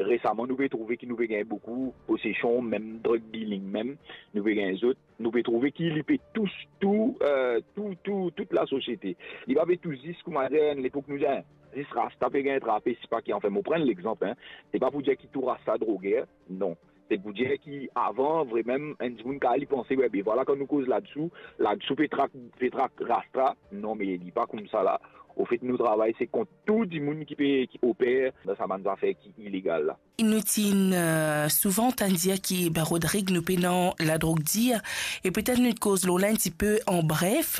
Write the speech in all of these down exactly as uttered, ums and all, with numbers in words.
Resaman, nou pe trouve ki nou pe gagn boukou posesion, mem drug dealing mem, nou pe gagn zot. Nou pe trouve ki li pe tous tou, eh, tou, tou, tout lasosiete. Li pa pe tous zis, koumadir, enn lepok nou dir, zis rasta pe gagn trape, sipa ki, anfin, mo pran lexanp, en. Se pa pou dir ki tou rasta droger, non. Se pou dir ki avan, vremem, enn dimoun kapav li panse, we, be vwala, kan nou koz ladsou, ladsou pe trak, pe trak rasta. Non, me li pa koumsa la. Anfet, nou travay, se kont tou dimoun ki pe, ki oper dan sa bann zafer ki ilegal la. Nou ti, eh, souvan tann dir ki, be, Rodrig, nou pena ladrog dir, e petet nou koz lor la enn tipe an bref.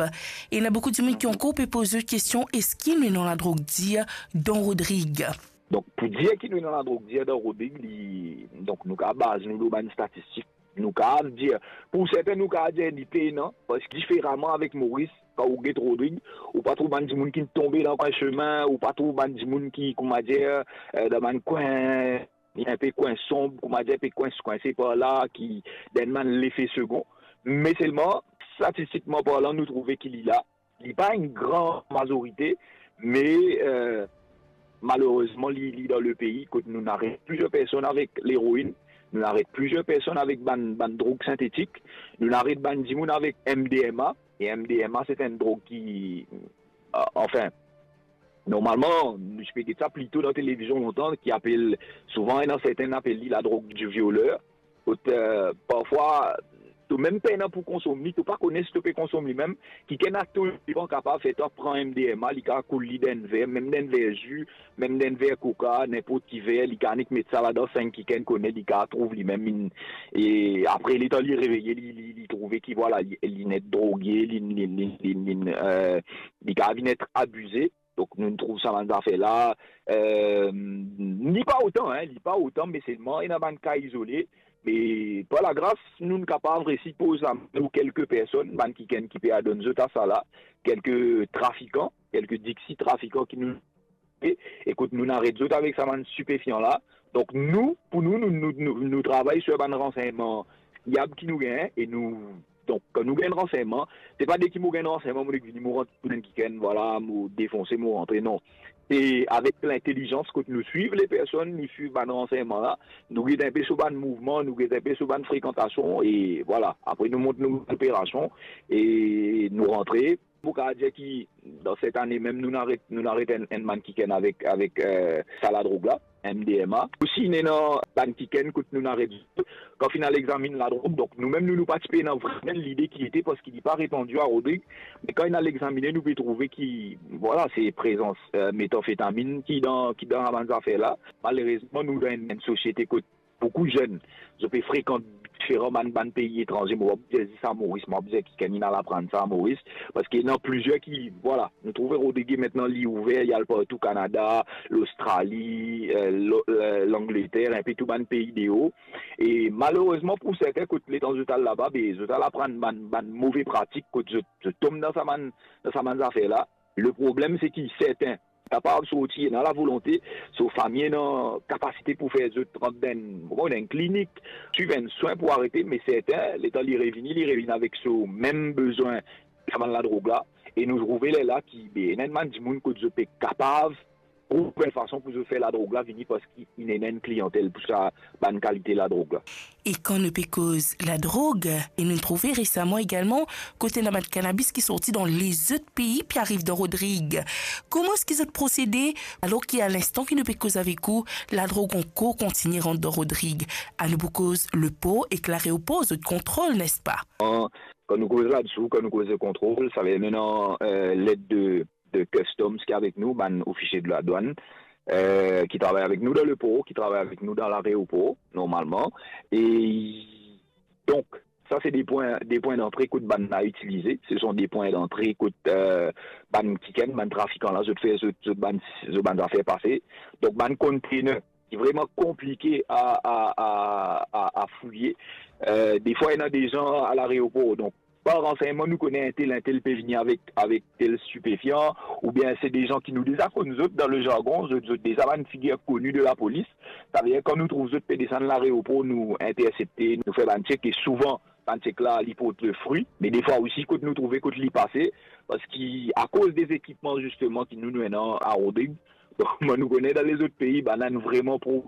E ena boukou dimoun ki ankor pe poz zot kestion, eski nou ena ladrog dir dan Rodrig? Donk, pou dir ki nou ena ladrog dir dan Rodrig, li, donk, nou kapav baz nou lor bann statistik. Nou kapav dir, pou serten, nou kapav dir li pena, parski diferaman avek Moris, kan ou get Rodrig, ou pa trouv bann dimoun ki tonbe dan kwin sime, ou pa trouv bann dimoun ki, koumadir, eh, dan bann kwin, inpe kwin sonb, koumadir, inpe kwin, kwinse par la, ki dan bann lefe segon. Me selman, statistikman parlan, nou trouve ki li la. Li pa enn gran mazorite, me, eh, malerezman, li, li dan lepei, kot nou aret plizier personn avek leroin, nou aret plizier personn avek bann, bann drog sintetik, nou aret bann dimoun avek M D M A, e M D M A, se enn drog ki, eh, anfin, normalman, nou ti pe get sa plito dan televizion lontan, ki apel, souvan, ena serten apel li ladrog di violer. Kot, eh, parfwa, to mem pena pou konsom li, to pa kone si to pe konsom li mem, kikenn a to devan kapav fer twa pran M D M A, li kapav koul li dan enn ver, mem dan enn ver zi, mem dan enn ver koka, ninport ki ver, li kapav nik met sa ladan san kikenn kone, li kapav trouv limem inn, e apre, letan li reveye, li, li, li trouve ki, vwala, li, li net droge, li, li, li, li, li, eh, li kapav vinn et abize. Donk, nou trouv sa bann zafer la, eh, li pa otan, en, li pa otan, me selman ena bann ka izole. Me par lagras, nou, nou kapav resi poz lame lor kelke personn, bann kikenn ki pe adonn zot a sa la, kelke trafikan, kelke diksi trafikan ki nou, e, e kot nou aret zot avek sa bann stipefian la. Donk, nou, pou nou, nou, nou, nou, nou travay sir bann ransegnman fiab ki nou gagn, e nou, donk, kan nou gagn ransegnman, se pa deki mo gagn ransegnman, mo nek vini, mo rant tou enn kikenn, vwala, mo defonse, mo rantre, non. Se avek lintelizans kot nou swiv lepersonn, nou swiv bann ransegnman la, nou get inpe so bann mouvman, nou get inpe so bann frekantasion, e vwala. Apre, nou mont nou operasion, e nou rantre. Mo kapav dir ki dan set ane mem, nou aret, nou aret enn, enn bann kikenn avek, avek, eh, sa ladrog la, M D M A. Osi, ena bann kikenn kot nou aret zot, kan finn al examinn ladrog, donk nou mem, nou, nou pa ti pe ena vremem lide ki ete, parski li pa repandi a Rodrig, me kan inn al examine, nou pe trouve ki, vwala, se prezans, eh, metanfetamin ki dan, ki dan sa bann zafer la. Malerezman, nou dan enn, enn sosiete kot boukou zenn, zot pe frekant diferan bann, bann pei etranze. Mo pa pou dir zis a Moris, mo pa pou dir kikenn inn al aprann sa a Moris, parski ena plizier ki, vwala, nou trouve Rodrig, aster li ouver, li al partou, Kanada, Lostrali, eh, Lo-, eh, Langleter, inpe tou bann pei deor. E malerezman pou serten, kot letan zot al laba, be, zot al aprann bann, bann move pratik, kot zot, zot tom dan sa bann, dan sa bann zafer la. Leproblem, se ki serten kapav sorti, ena lavolonte, so fami ena kapasite pou fer zot rant dan enn, mo pa kone, enn klinik, swiv enn swin pou arete, me serten, letan li revini, li revinn avek so mem bezwin, sa bann ladrog la, e nou trouve lerla ki, be, ena enn bann dimoun kot zot pe kapav trouv enn fason pou zot fer ladrog la vini, parski inn ena enn kliyantel pou sa bann kalite ladrog la. E kan nou pe koz ladrog, e nou trouve resaman egalman kot ena bann kanabis ki sorti dan lezot pei, pe ariv dan Rodrig. Kouma eski zot prosede, alor ki a linstan ki nou pe koz avek ou, ladrog ankor kontigne rant dan Rodrig? Anou pou koz lepor ek lareopor zot kontrol, nespa? Kan nou koz ladsou, kan nou koz kontrol, savedir nou ena, eh, led de de Customs ki avek nou, bann ofisie de ladwann, eh, ki travay avek nou dan lepor, ki travay avek nou dan lareopor, normalman. E donk, sa se de pwin, de pwin dantre kot bann la itilize. Se son de pwin dantre kot, eh, bann kikenn, bann trafikan la, zot fer zot, zot bann, zot bann zafer pase. Donk, bann kontener ki vreman konplike a, a, a, a, a fouye. Eh, defwa, ena de zan a lareopor, donk, par ransegnman, nou kone entel, entel pe vini avek, avek tel stipefian, oubien se de zan ki nou deza konn zot dan le zargon, zot, zot deza bann figir koni de lapolis. Savedir, kan nou trouv zot pe desann lareopor, nou intersepte, nou fer bann chek, e souvan, bann chek la, li port lefri. Me defwa osi, kot nou trouve kot li pase, parski akoz de zekipman, zisteman, ki nou, nou ena a Rodrig, donk, mwa, nou kone dan lezot pei, bann la inn vreman progrese.